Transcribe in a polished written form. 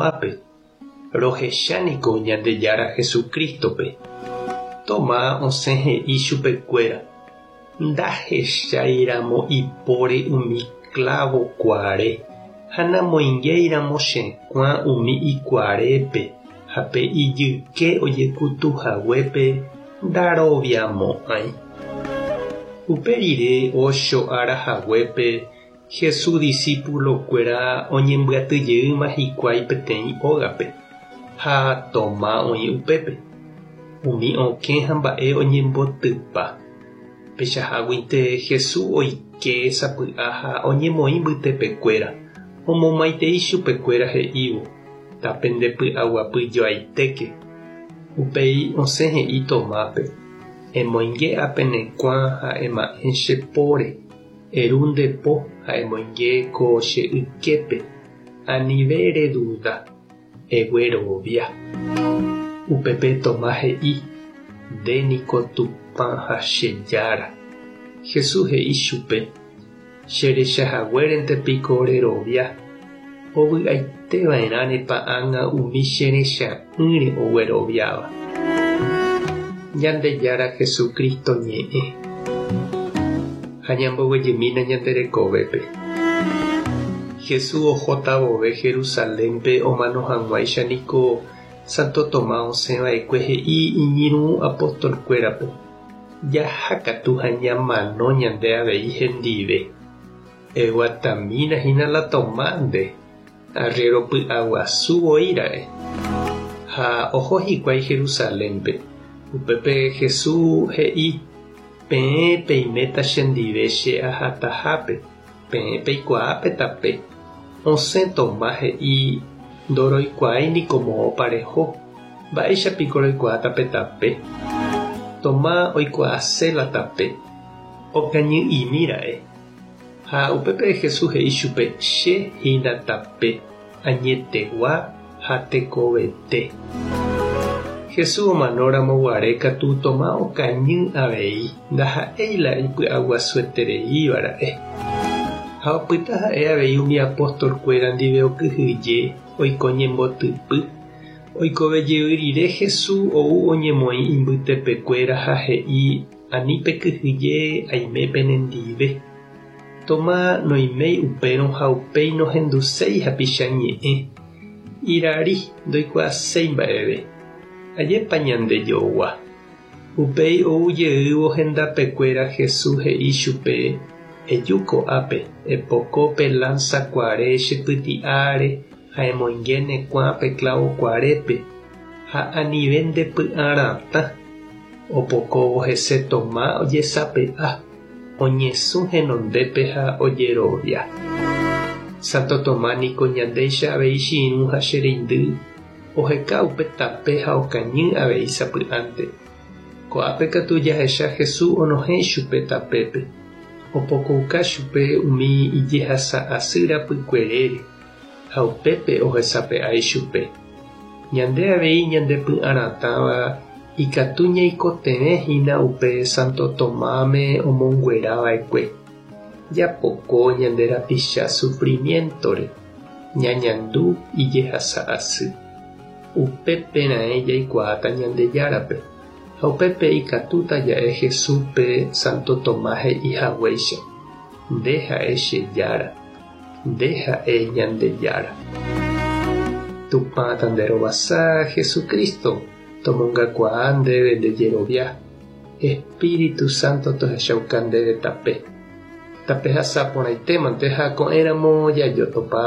Tomápe, Rohecha niko Ñandejára Jesucrístope. Tomás osẽ he'i chupekuéra, Ndahechái ramo ipóre umi klávo kuare ha namoingéi ramo che kuã umi ikuarépe ha pe ijyke ojekutu haguépe ndaroviamo'ãi. Upe rire ocho ára haguépe Jesús disípulokuéra oñembyaty jeýma hikuái peteĩ ógape, ha Tomás oĩ upépe. Umi okẽ ha mba'e oñembotypa. Peichaháguinte Jesús oike sapy'a ha oñemoĩ mbytepekuéra, omomaitei chupekuéra he'ívo, Tapendepy'aguapyjoaitéke. Upéi osẽ he'i Tomápe, Emoinge ápe ne kuã ha ema'ẽ che póre. Eru nde po ha emoinge ko che yképe, anive reduda, eguerovia. Upépe Tomás he'i, Nde niko Tupã ha che Jára. Jesús he'i chupe, Che recha haguérente piko rerovia, ovy'aite va'erãnepa ág̃a umi che recha'ỹre ogueroviáva. Ñandejára Jesucristo ñe'ẽ. Ha ñamboguejymína ñande rekovépe. Jesús ohóta vove Jerusalénpe omano hag̃uáicha niko Santo Tomás osẽ va'ekue he'i iñirũ apóstolkuérape, Jaha katu ha ñamano ñande avei hendive. Eguatamína hína la Tomás nde, arriéro py'aguasu voi ra'e. Ha oho hikuái Jerusalénpe. Upépe Jesús he'i, Peẽ peiméta chendive che ahatahápe, peẽ peikuaa pe tape. Osẽ Tomás he'i, Ndoroikuaái niko moõpa reho, mba'éicha piko roikuaáta pe tape? Tomás oikuaase la tape, okañy'imi ra'e. Ha upépe Jesús he'i chupe, Che hína tape, añetegua ha tekovete. Jesús omano ramo guare katu Tomás okañy avei, ndaha'éi la ipy'aguasuetereíva ra'e. Ha opyta ha'e avei umi apóstol-kuéra ndive okyhyje oiko ñembotypy. Oikove jey rire Jesús ou oñemoĩ imbytepekuéra ha he'i, Ani pekyhyje aime penendive. Tomás noiméi upérõ ha upéi nohenduséi hapicha ñe'ẽ. Irari ndoikuaaséi mba'eve. Ajépa ñandejogua. Upéi ou jeývo hendapekuéra Jesús he'i chupe, Eju ko'ápe, epoko pe lánsa kuare che pyti'áre ha emoinge ne kuã pe klávo kuarépe, ha anive nde py'aratã. Opokóvo hese Tomás ojesape'a, oñesũ henondépe ha ojerovia. Santo Tomás niko ñandéicha avei che irũ ha che reindy, oheka upe tape ha okañy avei sapy'ánte. Ko'ápe katu jahecha Jesús onohẽ ichupe tapépe, opokouka chupe umi ijehasa asy rapykuerére ha upépe ohesape'a ichupe. Ñande avei ñande py'aratãva ikatu ñaikotevẽ hína upe Santo Tomáme omonguera va'ekue. Japoko ñande rapicha sufrimiéntore, ñañandu ijehasa asy. Upépe raẽ jaikuaáta Ñandejárape, ha upépe ikatúta ja'e Jesúspe Santo Tomás he'i haguéicha, Nde ha'e che Jára, nde ha'e Ñandejára. Tupã tanderovasa, Jesucristo, tomongakuaa ndéve nde jerovia, Espíritu Santo tohechauka ndéve tape. Tapehasa porãitémante ha ko'ẽramo jajotopa.